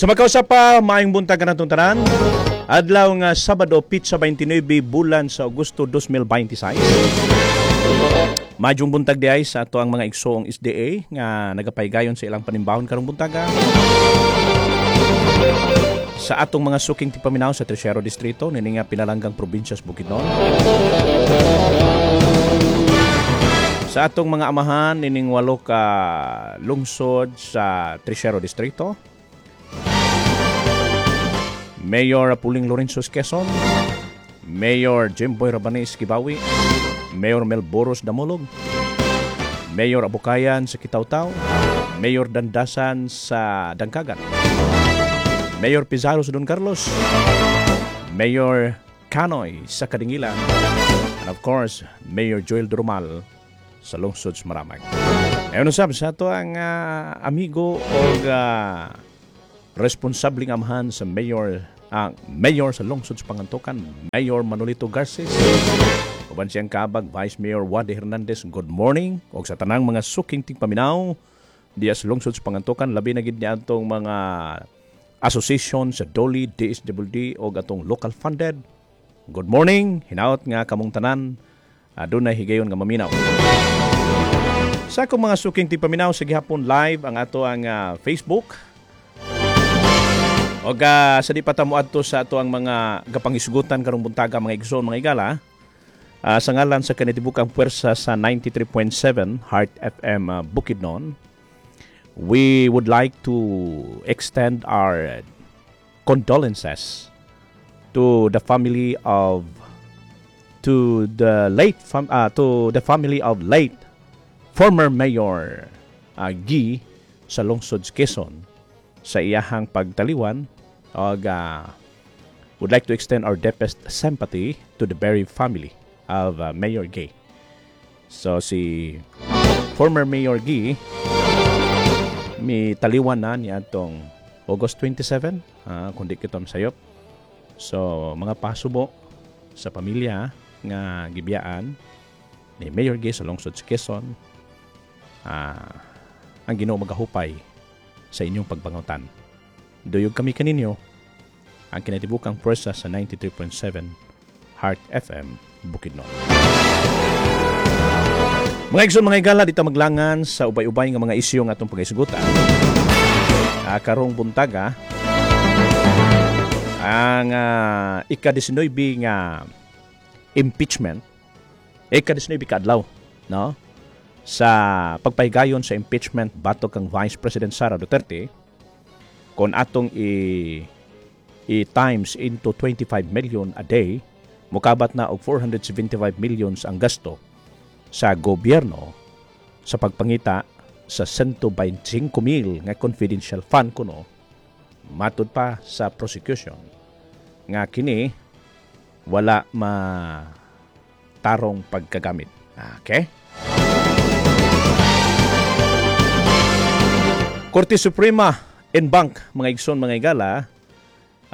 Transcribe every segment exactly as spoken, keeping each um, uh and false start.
Sa makausap pa, maayong buntag kanatong tanan. Adlaw nga Sabado, pitsa twenty-nine bulan sa Agosto twenty twenty-six. Maayong buntag diay sa ato ang mga igsoong S D A nga nagapaygayon sa ilang panimbahon karong buntaga. Sa atong mga suking tigpaminaw sa Tercero Distrito, nini nga pinalanggang probinsya sa Bukidnon. Sa atong mga amahan nining walo ka lungsod sa Tercero Distrito. Mayor Puling Lorenzo Quezon, Mayor Jimboy Rabanes Kibawi, Mayor Melboros Damulog, Mayor Abukayan sa Kitaw-Taw, Mayor Dandasan sa Dangkagan, Mayor Pizarro sa Don Carlos, Mayor Canoy sa Kadingilan, and of course, Mayor Joel Drumal sa lungsod sa Maramag. Ngayon usab sa ato ang ah, amigo o uh, responsableng amahan sa mayor ang mayor sa lungsod sa Pangantukan, Mayor Manolito Garces. Uban siyang kabag, Vice Mayor Wade Hernandez, good morning. Og sa tanang mga suking tigpaminaw diya sa lungsod sa Pangantukan, labi na gid niya atong mga association sa DOLE, D S W D og atong local funded. Good morning, hinaot nga kamong tanan adunay higayon nga maminaw. Sa akong mga suking tigpaminaw, sa gihapon live ang ato ang ah, Facebook. Og uh, sa di pa ta moadto sa ato ang mga gapangisgutan karong buntaga, mga igsoon, mga igala, uh, sa ngalan sa kinatibukang puwersa sa ninety-three point seven Heart F M uh, Bukidnon, we would like to extend our condolences to the family of to the late fam, uh, to the family of late former Mayor uh, Guy sa lungsod sa Quezon sa iyahang pagtaliwan og uh, would like to extend our deepest sympathy to the bereaved family of uh, Mayor Gay. So si former Mayor Guy mi taliwan na niya atong August twenty-seven, uh, kung di kita sayop. So mga pasubo sa pamilya nga gibiyaan ni Mayor Gay sa lungsod sa Quezon, uh, ang Ginoo magahupay sa inyong pagbangutan. Duyog kami kaninyo, ang kinatibukang pwersa sa ninety-three point seven Heart F M Bukidnon. Mga igsoon, mga igala, dito maglangan sa ubay-ubay nga mga isyu nga atong pagaisgutan. Uh, karong buntaga, ang uh, ika-nineteen nga impeachment, ika-nineteen kaadlaw, no? Sa pagpahigayon sa impeachment batok kang Vice President Sara Duterte, kung atong i, i times into twenty-five million a day, mukabat na og four hundred seventy-five millions ang gasto sa gobyerno sa pagpangita sa one hundred twenty-five mil nga confidential fund kuno, matud pa sa prosecution nga kini wala ma tarong pagkagamit. Okay? Korte Suprema en banc, mga igsoon, mga igala,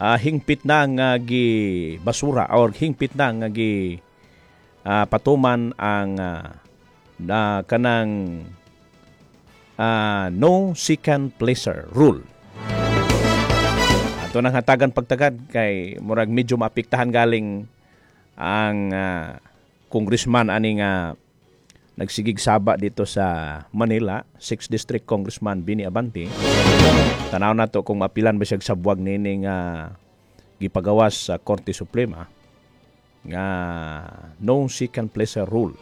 uh, hingpit na nga gi basura or hingpit na nga gi uh, patuman ang uh, na kanang uh, no second placer rule. Ato nang hatagan pagtagad kay murag medyo maapektahan galing ang uh, congressman ani nga nagsigig saba dito sa Manila, sixth District Congressman Benny Abante. Tanaw nato kung maapilan ba siya sa buwag nining uh, gipagawas sa Korte Suprema nga no second placer rule.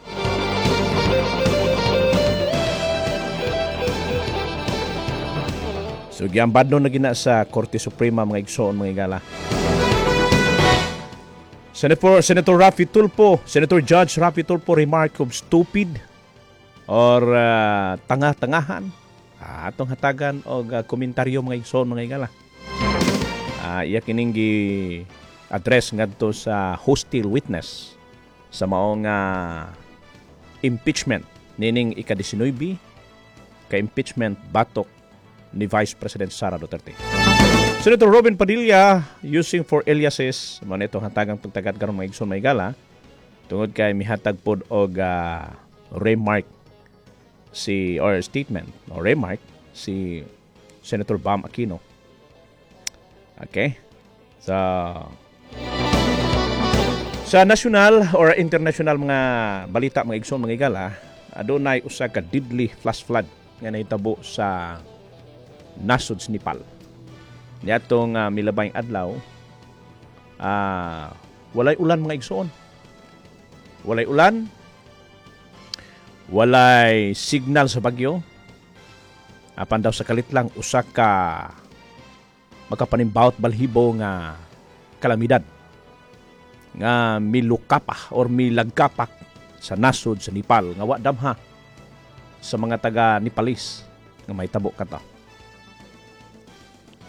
So giambad na gina sa Korte Suprema, mga igsoon, mga igala. Senator, Senator Raffy Tulfo, Senator Judge Raffy Tulfo remark of stupid or uh, tanga-tangahan. Ah, atong hatagan og uh, komentaryo, mga igsoon, mga igala. Uh, iya kining gi address ngadto sa hostile witness sa maong uh, impeachment nining ika-nineteen ka impeachment batok ni Vice President Sara Duterte. Senator Robin Padilla using for aliases, mao nito hatagang pagtagad karon, mga igsoon, mga igala, tungod kay mihatag pod og uh, remark si or statement or remark si Senator Bam Aquino. Okay? So, sa national or international mga balita, mga igsoon, mga igala, adunay usa ka deadly flash flood nga nahitabo sa nasod sa Nepal. Niadtong uh, milabayng adlaw, uh, walay ulan, mga igsoon. Walay ulan, walay signal sa bagyo. Apan daw sa kalit lang usa ka makapanimbawot balhibo nga kalamidad nga milukapa or milagkapak sa nasod sa Nepal nga wa damha sa mga taga Nepalese nga mahitabo kato.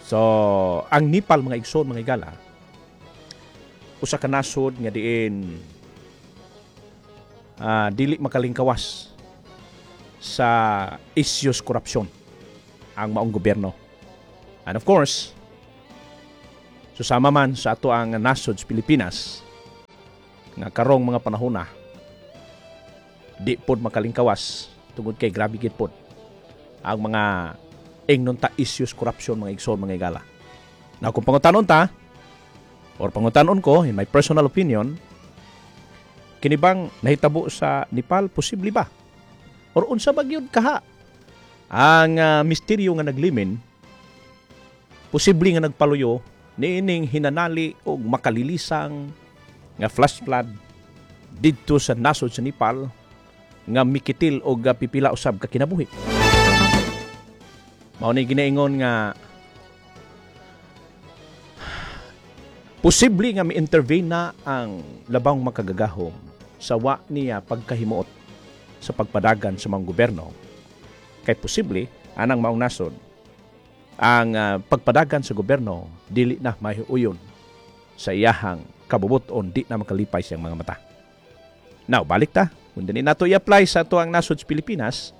So, ang Nepal, mga igsoon, mga igala, usa ka nasod nga diin uh, dili makalingkawas sa issues korupsyon ang maong gobyerno. And of course, susama man sa ato ang nasod sa Pilipinas nga karong mga panahon na di pod makalingkawas tungod kay grabe gid pod ang mga ingnon ta issues corruption, mga igsoon, mga igala. Na kung pangutanon ta or pangutanon ko, in my personal opinion, kini bang nahitabo sa Nepal, posible ba? Or unsa ba gyud kaha ang uh, misteryo nga naglimin, posible nga nagpaluyo niining hinanali og makalilisang nga flash flood didto sa nasod sa Nepal nga mikitil og pipila usab ka kinabuhi? Mao ni ginaingon nga posible nga mi-intervene na ang labang makagagahom sa wa niya pagkahimuot sa pagpadagan sa mga gobyerno. Kay posible anang maong nasod ang uh, pagpadagan sa gobyerno dili na mahiuyon sa iyahang kabubuton, di na makalipay siyang mga mata. Now, balik ta. Kung dili nato i-apply sa ato ang nasod sa Pilipinas,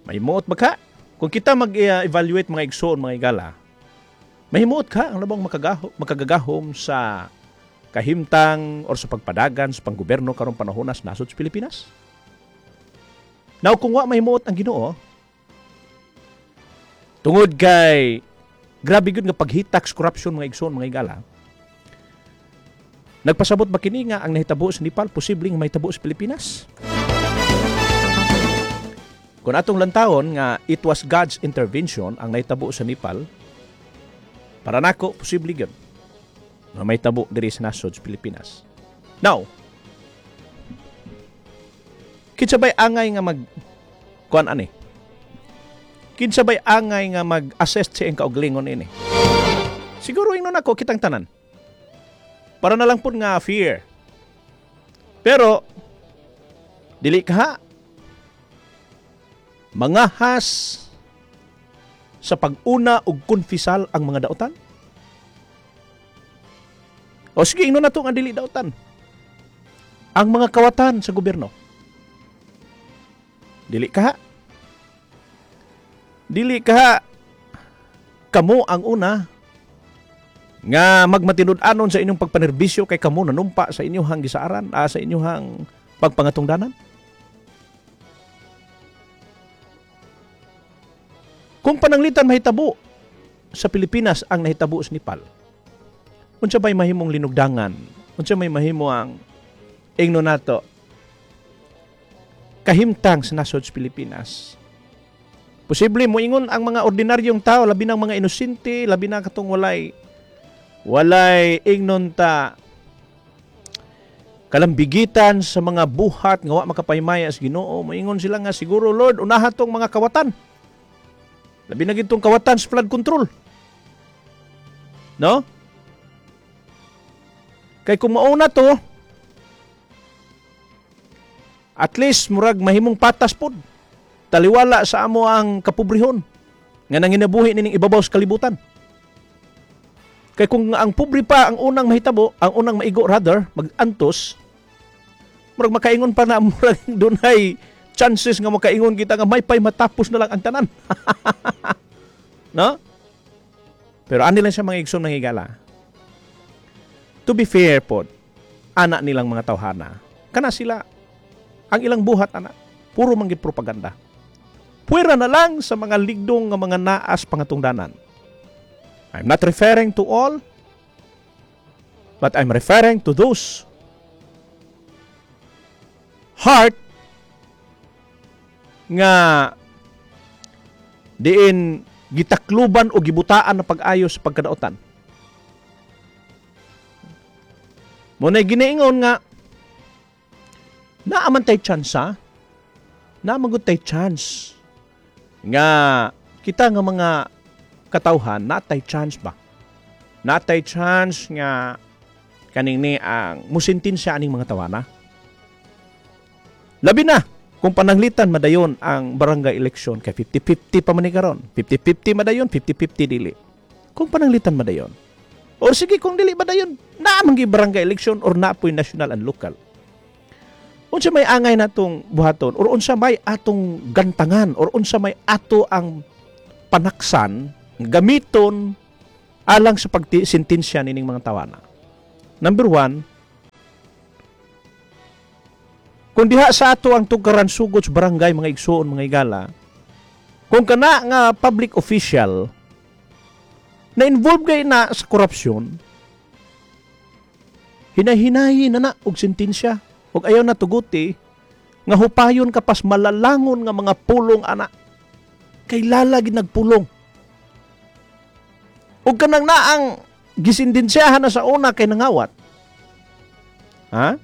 mahimuot ba ka? Kung kita mag-evaluate, mga igsoon, mga igala, mahimuot ka ang labang makagaho, makagagahom sa kahimtang or sa pagpadagan sa panggobyerno karong panahon sa nasod sa Pilipinas? Now, kung wa mahimuot ang Ginoo, tungod kay grabe gyud nga paghitak sa corruption, mga igsoon, mga igala, nagpasabot ba kini nga ang nahitabo sa Nepal posibleng mahitabo sa Pilipinas? Kung atong lantawon nga it was God's intervention ang nahitabo sa Nepal, para nako posible gyud nga mahitabo diri sa nasod sa Pilipinas. Now, kinsa bay angay nga mag kuan ani? Kinsa bay angay nga mag-assess sa iyang kaugalingon ini? Siguro ingnon ako kitang tanan. Para na lang pud nga fear. Pero dili ka mangahas sa pag-una og konfisal ang mga dautan? O sige, ingnon nato nga dili dautan. Ang mga kawatan sa gobyerno. Dili ka Dili ka kamo ang una nga magmatinud-anon sa inyong pagpanerbisyo kay kamo nanumpa sa inyong gisaaran, ah, sa inyong pagpangatungdanan? Kung pananglitan mahitabo sa Pilipinas ang nahitabo sa Nepal, unsa bay mahimong linugdangan? Unsa may mahimo ang ingno nato kahimtang sa nasod sa Pilipinas? Posible moingon ang mga ordinaryong tao, labi ng mga inosente, labi na katong walay walay ingnon ta kalambigitan sa mga buhat nga wa makapaymaya sa Ginoo, moingon sila nga siguro, "Lord, unaha tong mga kawatan. Labi na gitong kawatan sa flood control." No? Kay kung mauna to, at least murag mahimong patas pod. Taliwala sa amo ang kapobrehon nga nanginabuhi nining ibabaw sa kalibutan. Kay kung ang pobre pa ang unang mahitabo, ang unang maigo rather, magantos, murag makaingon pa na murag dunay chances nga makaingon kita nga may pay matapos na lang ang tanan. No? Pero ani lang siya, mga igsoon, mga higala. To be fair pod, ana nilang mga tawhana. Kana sila, ang ilang buhat ana, puro manggid propaganda. Puwera na lang sa mga ligdong nga mga naas pangatungdanan. I'm not referring to all, but I'm referring to those heart nga diin gitakluban o gibutaan na pag-ayo sa pagkadaotan. Muna ginaingon nga naaman tay chance ha? Naaman gud tay chance nga kita nga mga katawhan natay chance ba? Natay chance nga kaning ni ang musintensya aning mga tawana. Labi na kung pananglitan madayon ang barangay election kay fifty-fifty pa man ni karon. fifty-fifty madayon, fifty-fifty dili. Kung pananglitan madayon. Or sige kung dili madayon, naa man gyud barangay election or naa poy national and local. Unsa may angay natong buhaton or unsa may atong gantangan or unsa may ato ang panaksan gamiton alang sa pagsentensya nining mga tawana. Number one, kung diha sa ato ang tugkaran sugod sa barangay mga igsuon mga igala, kung kana nga public official na involved kay na sa korupsyon, hinahinayi na na og sentensya og ayaw na tuguti nga hupayon kapas malalangon nga mga pulong ana kay lalagi nagpulong. Og kanang naang gisintensyahan na sa una kay nangawat. Ha?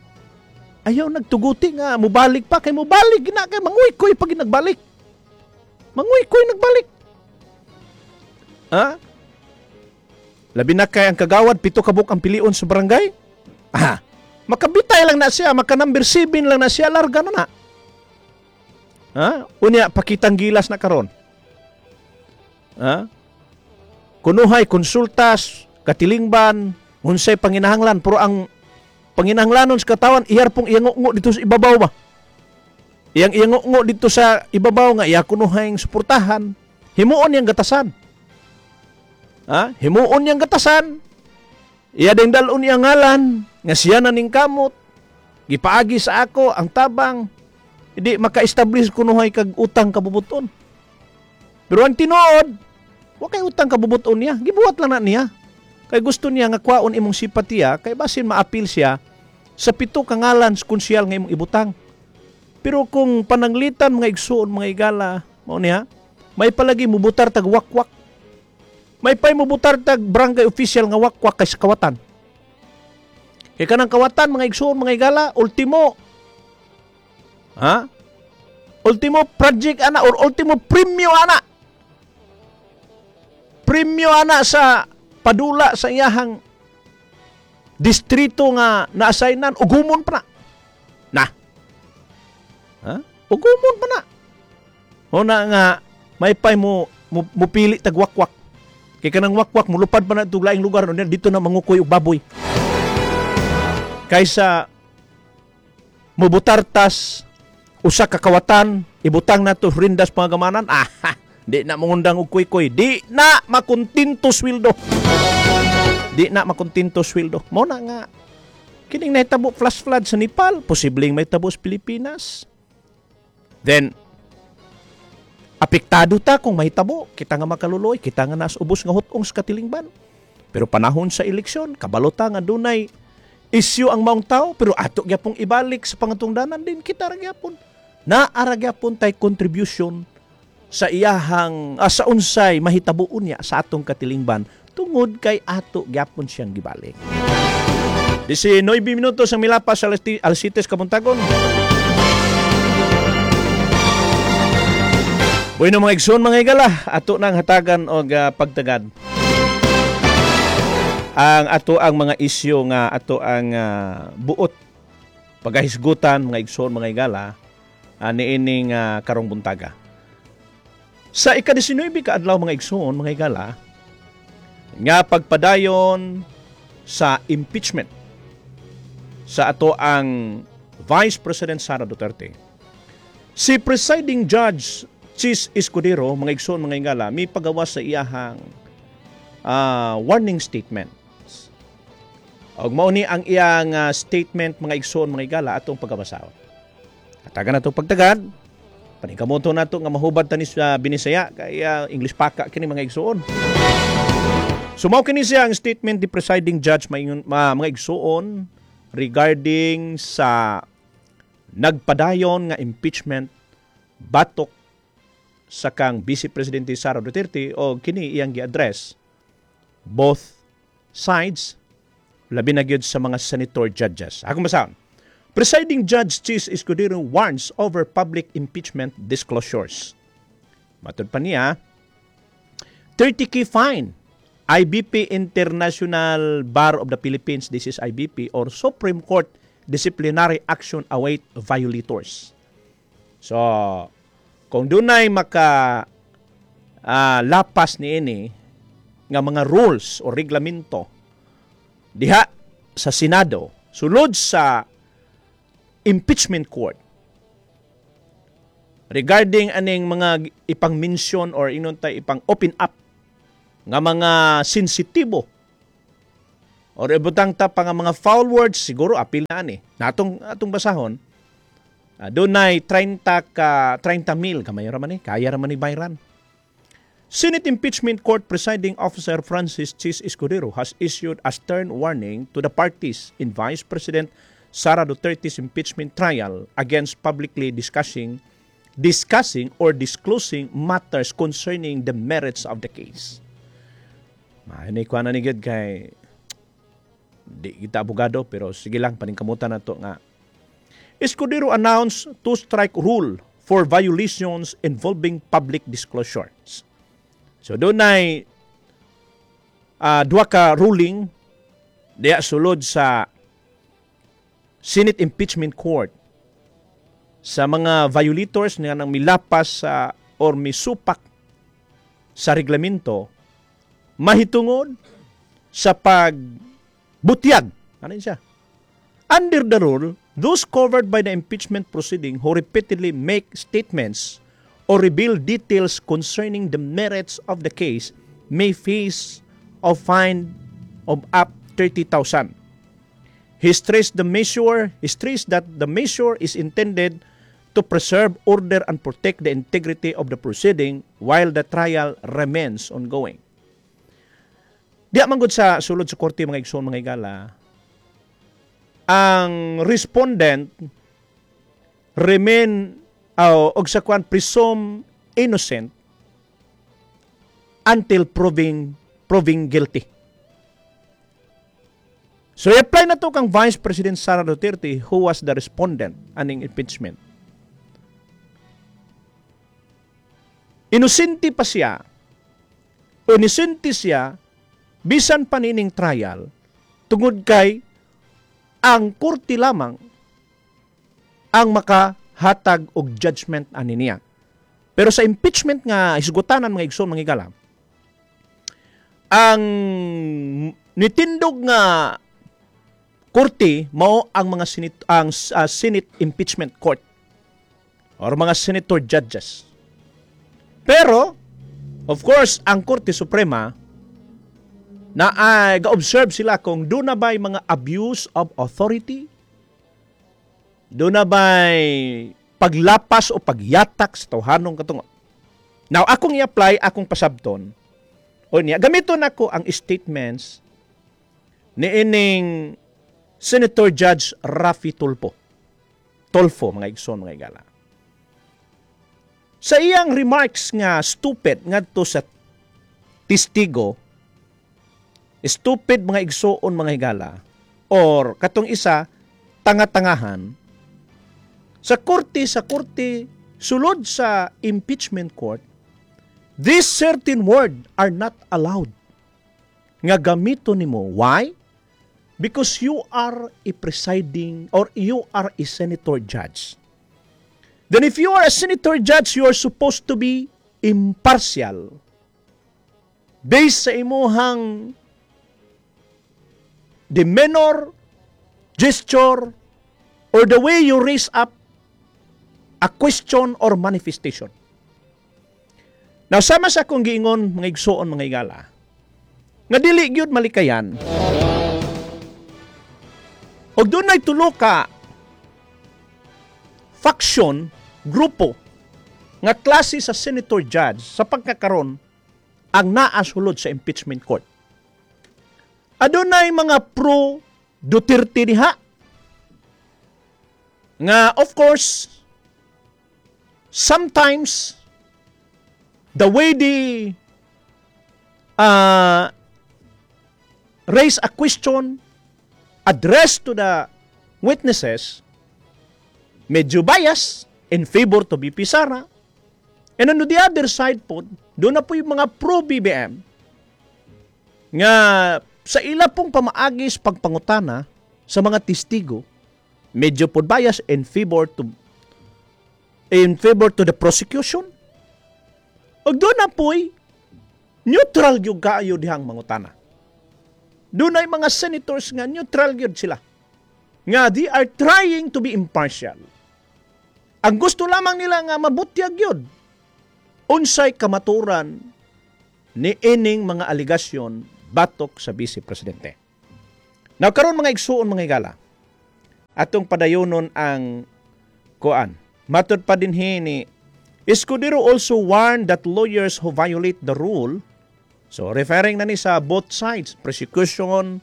Ayaw nagtuguti nga mubalik pa kay mubalik gina kay manguy-koy pag nagbalik. Manguy-koy nagbalik. Ha? Labi na kay ang kagawad pito kabuk ang pilion sa barangay. Ah, makabitay lang na siya, maka number seven lang na siya, larga na na. Ha? Unya pakitang gilas na karon. Ha? Kunuhay konsultas, katilingban, unsay panginahanglan pero ang panginahanglanon sa katawan iyar pong iyangungo dito sa ibabaw ba. Iyang iyangungo dito sa ibabaw nga iya kunuhay suportahan, himuon niyang gatasan. Ha? Himuon niyang gatasan. Iya ding dalon iyang ngalan nga siya na ning kamot. Gipaagi sa ako ang tabang. Hindi maka-establish kunuhay kag utang kabubuton. Pero ang tinuod, wa kay utang kabubuton niya. Gibuhat lang na niya. Kay gusto niya nga kwaon imong simpatiya, kay basin maapil siya sa pito ka ngalan sa konsyal nga imong ibutang. Pero kung pananglitan mga igsuon mga igala, mao niya, may palagi mubutar tag wakwak. May pay mubutar tag barangay official nga wakwak kay sa kawatan. Kay kanang kawatan mga igsuon mga igala, ultimo. Ha? Ultimo project ana or ultimo premyo ana. Premyo ana sa padula sa iyahang distrito nga naassignan, ugumon pa na. Na. Ha? Ugumon pa na. O na nga, may pay mo, mo, mupili tag wakwak. Kay kanang wakwak, mulupad pa na itong laing lugar, dito na mangukoy og baboy. Kaysa mubutartas, usa ka kawatan, ibutang na to rindas pangagamanan, ah, di na mangundang og kuy-kuy, di na makuntinto sweldo. Di na makuntinto sweldo. Mo na nga, kining nahitabo flash flood sa Nepal, posibleng mahitabo sa Pilipinas. Then, apektado ta kung mahitabo, kita nga makaluloy, kita nga nas ubos nga hutong sa katilingban. Pero panahon sa eleksyon, kabalo ta nga dunay isyu ang maong tao, pero ato gyapong ibalik sa pangatungdanan din, kita ra gyapon. Naara gyapon tay contribution sa iyahang ah, sa unsay mahitabuon niya sa atong katilingban tungod kay ato gyapon siyang gibalik. nineteen minutos ang milapas sa alas siyete kabuntagon. Bueno mga igsoon mga igala, ato nang hatagan og uh, pagtagad ang ato ang mga isyu nga ato ang uh, buot pagahisgutan mga igsoon mga igala uh, niining uh, karong buntaga. Sa ika-nineteen ka adlaw mga igsoon mga igala nga pagpadayon sa impeachment sa ato ang Vice President Sara Duterte. Si presiding judge Chis Escudero mga igsoon mga igala may pagawa sa iyahang uh, warning statement. Og mao ni ang iyang uh, statement mga igsoon mga igala atong pagabasahon. Hatagan natong pagtagad. Paningkamoto nato nga mahubad ta ni sa Binisaya kaya English paka kini, mga igsuon. So mao kini siya ang statement ni presiding judge, maingon, ma, mga igsuon, regarding sa nagpadayon nga impeachment batok sa kang Vice Presidente Sara Duterte, o kini iyang gi-address both sides, labi na gyud sa mga senator judges. Akong basahon. Presiding Judge Chiz Escudero warns over public impeachment disclosures. Matod pa niya, thirty k fine. I B P, International Bar of the Philippines, this is I B P, or Supreme Court disciplinary action await violators. So, kung dunay maka uh, lapas ni ini nga mga rules o reglamento diha sa Senado sulod sa impeachment court regarding aning mga ipang-mention or inon tay ipang open up nga mga sensitibo or ibutang ta pa nga mga foul words, siguro apil na ani natong atong basahon, uh, dunay thirty ka thirty mil, kamay ra man ni, kaya ra man ni bayran. Senate Impeachment Court Presiding Officer Francis Chiz Escudero has issued a stern warning to the parties in Vice President Sara Duterte's impeachment trial against publicly discussing discussing or disclosing matters concerning the merits of the case. Mahinay ko na ni gid kay di kita abogado, pero sige lang, paningkamutan na to nga Escudero announced two-strike rule for violations involving public disclosures. So dunay uh, duha ka ruling diya sulod sa Senate Impeachment Court sa mga violators nga nang milapas sa or misupak sa reglamento mahitungod sa pagbutyag. Ano yun siya? Under the rule, those covered by the impeachment proceeding who repeatedly make statements or reveal details concerning the merits of the case may face a fine of up thirty thousand. He stressed the measure, he stressed that the measure is intended to preserve order and protect the integrity of the proceeding while the trial remains ongoing. Diya man gud sa sulod sa korte, mga igsoon, mga igala, ang respondent remain uh, og sa kwan presume innocent until proving proving guilty. So i-apply na to kang Vice President Sara Duterte, who was the respondent aning impeachment. Inosente pa siya. Inosente siya bisan pa nining trial tungod kay ang korte lamang ang makahatag og judgment ani niya. Pero sa impeachment nga hisgutanan, mga igsoon, mga igala, ang nitindog nga korte mao ang mga Senate, ang uh, Senate Impeachment Court or mga senator judges. Pero of course, ang Korte Suprema na ay uh, ga-observe sila kung duna ba'y mga abuse of authority, duna ba'y paglapas o pagyatak sa tawhanong katungod. Now, akong i-apply, akong pasabton, o niya, gamiton nako ang statements ni ining Senator Judge Raffy Tulfo. Tulfo, mga igsoon, mga igala. Sa iyang remarks nga stupid ngadto sa testigo, stupid, mga igsoon, mga higala, or katong isa, tanga-tangahan, sa korte, sa korte, sulod sa impeachment court, this certain word are not allowed nga gamito nimo. Why? Because you are a presiding or you are a senator judge. Then if you are a senator judge, you are supposed to be impartial. Based sa imuhang demeanor, gesture, or the way you raise up a question or manifestation. Now, sama sa akong giingon, mga igsoon, mga igala, nga dili gyud malikayan, og dunay tulo ka faction, grupo, Nga klase sa senator judge sa pagkakaron ang naa sulod sa impeachment court. Adunay mga pro Duterte diha nga, of course, sometimes the way they uh, raise a question addressed to the witnesses, medyo bias in favor to V P Sara. And on the other side po, duna poy mga pro-B B M nga sa ila pong pamaagis pagpangutana sa mga testigo, medyo po bias in favor to in favor to the prosecution. Ug duna po'y neutral gyud kaayo dihang mangutana. Dunay mga senators nga neutral gyud sila. Nga they are trying to be impartial. Ang gusto lamang nila nga mabutyag gyud unsay kamaturan ni ining mga aligasyon batok sa Vice Presidente. Now karon, mga igsuon, mga higala, atong padayonon ang kuan. Matod pa dinhi ni Escudero also warned that lawyers who violate the rule, so referring na ni sa both sides, prosecution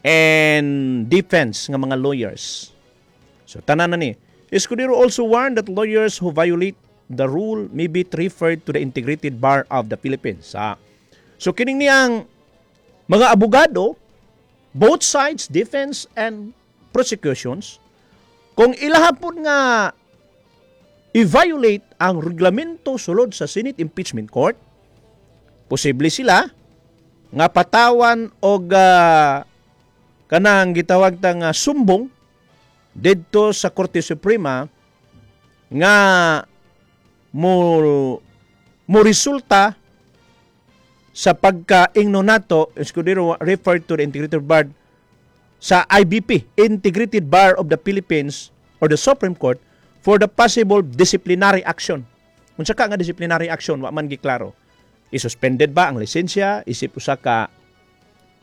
and defense nga mga lawyers. So tanan na ni. Escudero also warned that lawyers who violate the rule may be referred to the Integrated Bar of the Philippines. Ah. So kining niyang mga abogado, both sides, defense and prosecutions, kung ilahapon nga i-violate ang reglamento sulod sa Senate Impeachment Court, posible sila nga patawan og uh, kanang gitawag ta nga sumbong didto sa Korte Suprema nga mo mo resulta sa pagkaingno nato. Escudero referred to the Integrated Bar sa I B P, Integrated Bar of the Philippines, or the Supreme Court for the possible disciplinary action. Unsa ka nga disciplinary action, wa man giklaro. I-suspended ba ang lisensya isip usa ka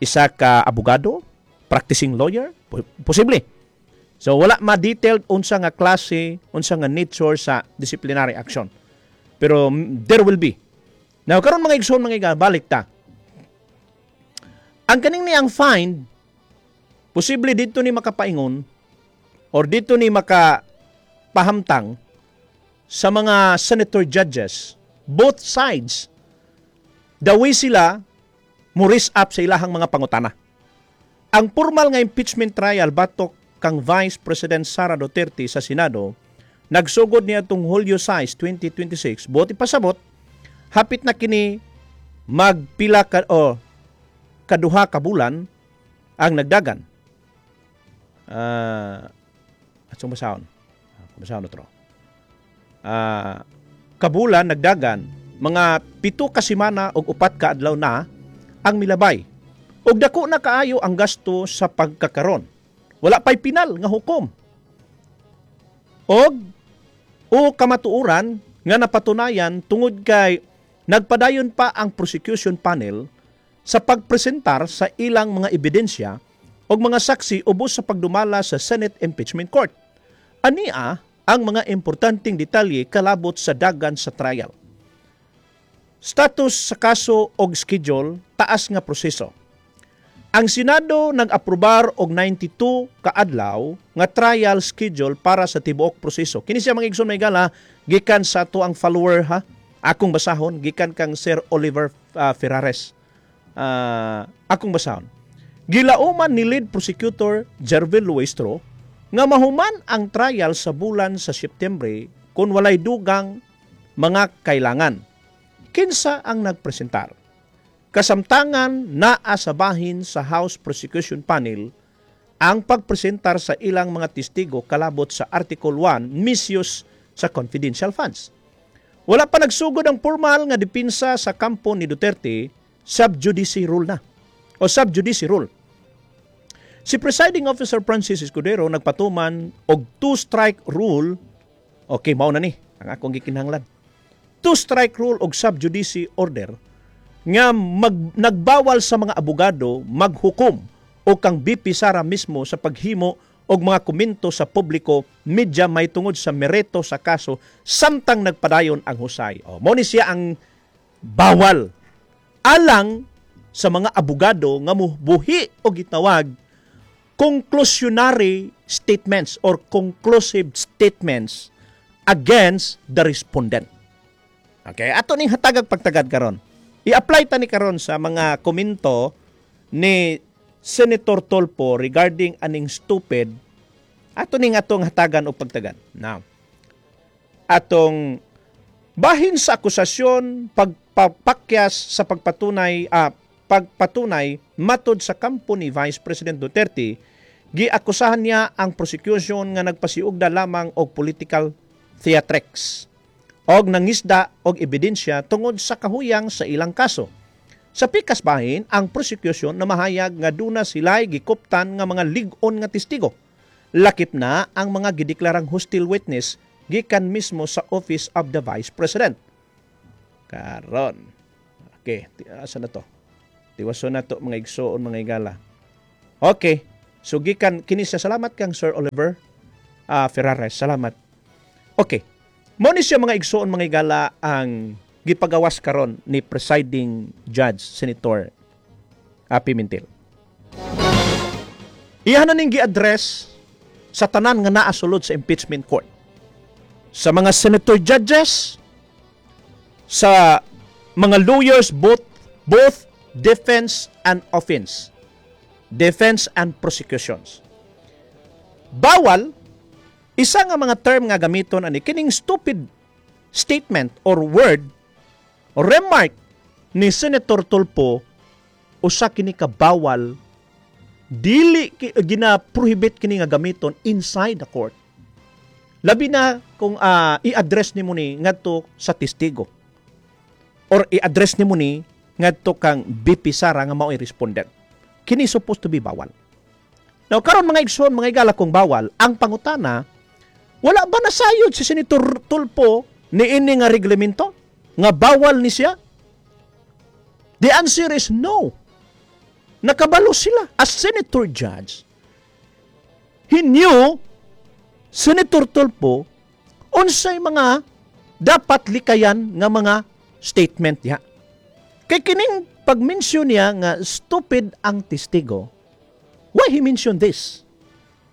isa ka abogado, practicing lawyer? Posible. So wala ma-detailed unsa nga klase, unsa nga nature sa disciplinary action. Pero there will be. Now karon, mga igsoon, mga higala, balik ta. Ang kaning niyang find, posible dito ni makapaingon or dito ni maka pahamtang sa mga senator judges, both sides, the way sila mo raise up sa ilahang mga pangutana. Ang formal nga impeachment trial batok kang Vice President Sara Duterte sa Senado nagsugod niya itong Hulyo sais, twenty twenty-six. Buot ipasabot, hapit na kini magpila ka o kaduha ka bulan ang nagdagan. Uh, atong basahon. Basahon otro. Uh, kabulan nagdagan, mga pito ka semana ug upat ka adlaw na ang milabay. Ug dako na kaayo ang gasto sa pagkakaron. Wala pa'y pinal nga hukom. Og o kamatuoran nga napatunayan tungod kay nagpadayon pa ang prosecution panel sa pagpresentar sa ilang mga ebidensya o mga saksi ubos sa pagdumala sa Senate Impeachment Court. Ania ang mga importanteng detalye kalabot sa dagan sa trial. Status sa kaso og schedule, taas nga proseso. Ang Senado nag-aprobar og ninety-two kaadlaw nga trial schedule para sa tibuok proseso. Kini siya, mga igsoon, mga higala, gikan sa ato ang follower ha. Akong basahon gikan kang Sir Oliver uh, Ferrares. Uh, akong basahon. Gilauman ni lead prosecutor Jervil Luistro nga mahuman ang trial sa bulan sa Setyembre kung walay dugang mga kailangan. Kinsa ang nagpresentar? Kasamtangan, naa sa bahin sa House Prosecution Panel ang pagpresentar sa ilang mga testigo kalabot sa Article one misuse sa confidential funds. Wala pa nagsugod ang formal nga depensa sa kampo ni Duterte, sub judice rule na o sub judice rule. Si Presiding Officer Francis Escudero nagpatuman og two-strike rule. Okay, mao na ni ang akong gikinahanglan. Two-strike rule og sub judice order nga mag, nagbawal sa mga abogado maghukom o kang V P Sara mismo sa paghimo Og mga komento sa publiko media may tungod sa merito sa kaso samtang nagpadayon ang husay. O, mo ni siya ang bawal alang sa mga abogado nga mubuhi o gitawag conclusionary statements or conclusive statements against the respondent. Okay, ato ning hatagag pagtagad karon. I-apply ta ni karon sa mga komento ni Senator Tulfo regarding aning stupid. Ato ning atong hatagan og pagtagad. Now, atong bahin sa akusasyon, pagpapakyas sa pagpatunay ah, pagpatunay matod sa kampo ni Vice President Duterte, giakusahan niya ang prosecution nga nagpasiugda lamang og political theatrics og nangisda og ebidensya tungod sa kahuyang sa ilang kaso. Sa pikas bahin, ang prosecution na mahayag nga duna sila'y gikuptan nga mga lig-on nga testigo. Lakip na ang mga gideklarang hostile witness gikan mismo sa Office of the Vice President. Karon. Okay, asa na to? Tiwason na to, mga igsoon, mga igala. Okay. So gikan kini siya, salamat kang Sir Oliver uh, Ferrares. Salamat. Okay. Mo ni siya, mga igsoon, mga igala, ang gipagawas karon ni presiding judge Senator uh, Pimentel. Iyan na ning gi-address sa tanan nga naa sulod sa impeachment court. Sa mga senator judges, sa mga lawyers, both both defense and offense, defense and prosecutions. Bawal isa nga mga term nga gamiton ani, kining stupid statement or word or remark ni Senator Tulfo, usa kini ka bawal, dili gina-prohibit kini nga gamiton inside the court. Labi na kung uh, i-address nimo ni ngadto sa testigo or i-address nimo ni ngadto kang V P Sara nga mao'y respondent. Kini supposed to be bawal. Now karon, mga igsoon, mga igala, kung bawal, ang pangutana, wala ba nasayod si Senator Tulfo ni ini nga reglamento nga bawal ni siya? The answer is no. Nakabalo sila. As senator judge, he knew, Senator Tulfo, unsay mga dapat likayan nga mga statement diha. Kay kining pag-mention niya nga stupid ang testigo, why he mentioned this?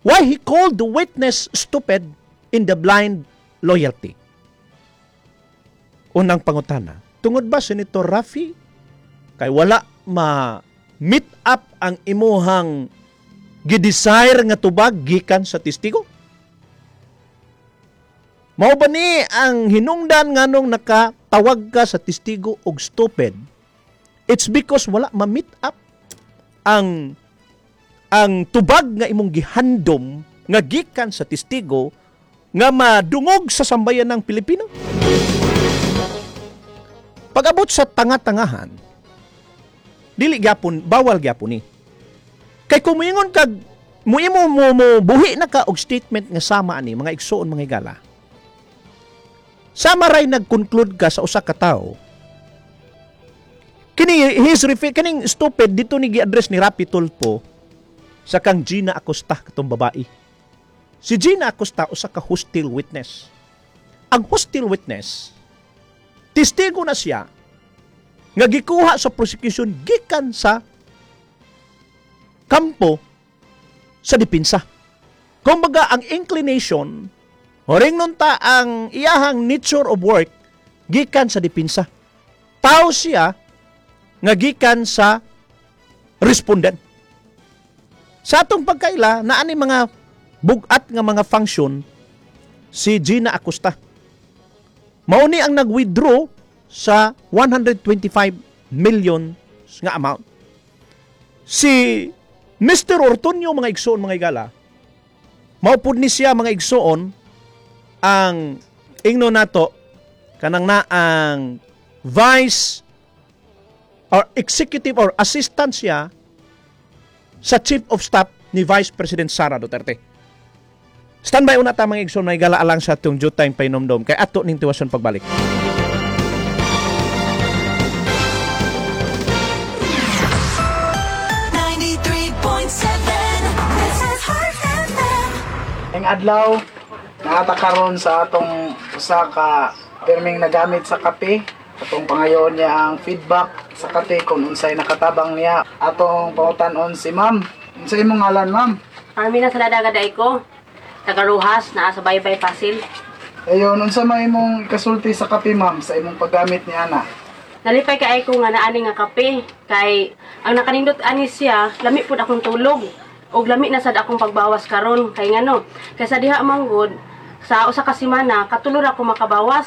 Why he called the witness stupid in the blind loyalty? Unang pangutana, tungod ba, Senator Raffy, kay wala ma meet up ang imuhang gidesire nga tubag gikan sa testigo? Mao ba ni ang hinungdan nganong nakatawag ka sa testigo og stupid? It's because wala ma-meet up ang ang tubag nga imong gihandom nga gikan sa testigo nga madungog sa sambayan ng Pilipino? Pag-abot sa tanga-tangahan, dili gyapon bawal gyapon ni. Kay kung moingon kag muimo mo, mo buhi na ka og statement nga sama ani, mga igsoon, mga higala. Sama ray nag-conclude ka sa usa ka tawo. Kini his refer kining stupid dito ni gi-address ni Raffy Tulfo sa kang Gina Acosta, katong babae. Si Gina Acosta usa ka hostile witness. Ang hostile witness, testigo na siya nga gikuha sa prosecution gikan sa kampo sa depensa. Kumbaga ang inclination, horing nun ta ang iyahang nature of work gikan sa depensa. Tao siya nga gikan sa respondent. Sa atong pagkaila, naani mga bugat nga mga function si Gina Acosta. Mao ni ang nag-withdraw sa one hundred twenty-five million nga amount. Si Mister Ortonio, mga igsoon, mga igala, mao pud ni siya, mga igsoon, ang ingno nato kanang na ang vice or executive or assistant siya sa chief of staff ni Vice President Sara Duterte. Standby una ta, mga igsoon, mga igala, alang sa atong due time painomdom kay ato ning tiwason pagbalik. ninety-three point seven. This is Heart F M. Maayong adlaw. Naa ta karon sa atong usa ka perming nagamit sa kape. Atong pangayoon niya ang feedback sa kape kung unsay nakatabang niya. Atong pangutan-on si Ma'am. Unsay imong ngalan, Ma'am? Carmina Saladaga ko. Taga Roxas, naa sa Baybay Pasil. Ayon, unsa may imong ikasulti sa kape, Ma'am, sa imong paggamit ni ana? Nalipay kay ko nga naani nga kape kay ang nakanindot ani siya, lami pud akong tulog. Og lami na sad akong pagbawas karon kay ngano. Kay sa diha man gud sa usa ka semana katulo ra ko makabawas.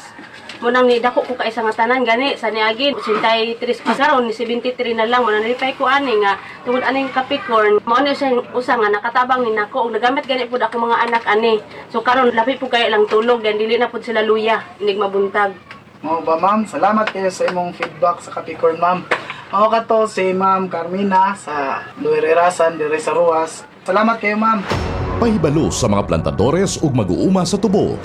Mao nang ni dako ko kaisa nga tanan gani sa niagi eighty-three pa karon ni seventy-three na lang. Mao nang nalipay ko ani nga tungod aning Capricorn mao ni siya usa nga nakatabang ni nako og nagamit gani pud ako mga anak ani. So karon labi pud kay lang tulog dan dili na pud sila luya inig mabuntag. Mao ba, Ma'am? Salamat kayo sa imong feedback sa Capricorn, Ma'am. Mao kato si Ma'am Carmina sa Lower Irasan, dire sa Roxas. Salamat kayo, Ma'am. Pahibalo sa mga plantadores ug mag-uuma sa tubo.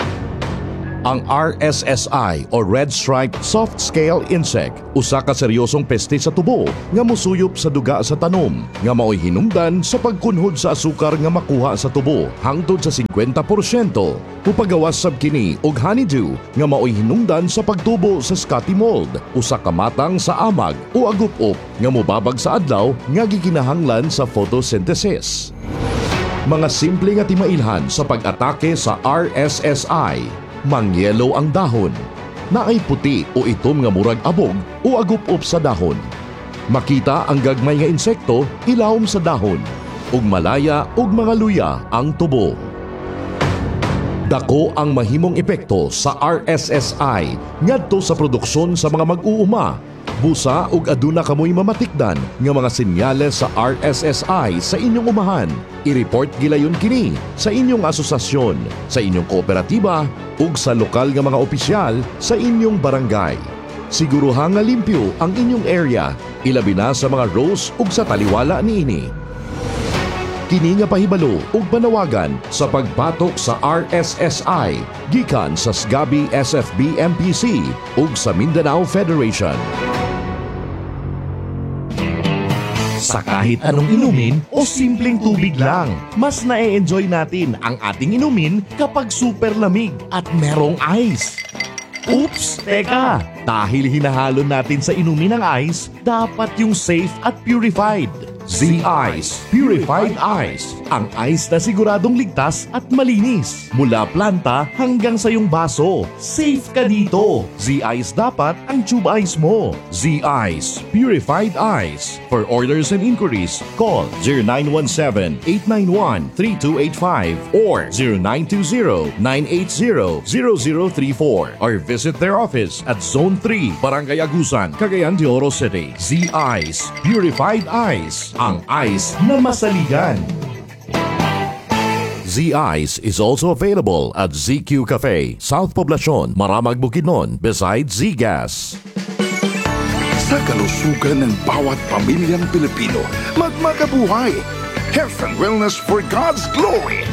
Ang R S S I o Red Striped Soft Scale Insect, usa ka seryosong peste sa tubo nga musuyop sa duga sa tanom, nga maoy hinungdan sa pagkunhod sa asukar nga makuha sa tubo hangtod sa singkwenta porsyento. Mupagawas sab kini og honeydew nga maoy hinungdan sa pagtubo sa sooty mold, usa ka matang sa amag o agup-op nga mobabag sa adlaw nga gikinahanglan sa photosynthesis. Mga simple nga timailhan sa pag-atake sa R S S I: Mangyelo ang dahon. Naay puti o itom nga murag abog o agup-op sa dahon. Makita ang gagmay nga insekto ilawom sa dahon. Ug malaya ug mga luya ang tubo. Dako ang mahimong epekto sa R S S I ngadto sa produksyon sa mga mag-uuma. Busa ug aduna kamoy mamatikdan nga mga senyales sa R S S I sa inyong umahan, I-report gilayon kini sa inyong asosasyon, sa inyong kooperatiba ug sa lokal nga mga opisyal sa inyong barangay. Siguruha nga limpyo ang inyong area, ilabi na sa mga rows ug sa taliwala niini. Kini nga pahibalo ug panawagan sa pagbatok sa R S S I gikan sa SGABI S F B M P C ug sa Mindanao Federation. Sa kahit anong inumin o simpleng tubig lang, mas na-enjoy natin ang ating inumin kapag super lamig at merong ice. Oops! Teka! Dahil hinahalo natin sa inumin ang ice, dapat yung safe at purified. Z-Ice Purified Ice. Ang ice na siguradong ligtas at malinis. Mula planta hanggang sa iyong baso. Safe ka dito. Z-Ice dapat ang tube ice mo. Z-Ice Purified Ice. For orders and inquiries, call zero nine one seven, eight nine one, three two eight five or zero nine two zero, nine eight zero, zero zero three four or visit their office at Zone three, Barangay Agusan, Cagayan de Oro City. Z-Ice Purified Ice. Ang ice na masaligan. Z-Ice is also available at Z Q Cafe, South Poblacion, Maramag, Bukidnon, beside Z-Gas. Sa kalusugan ng bawat pamilyang Pilipino, magmakabuhay. Health and wellness for God's glory.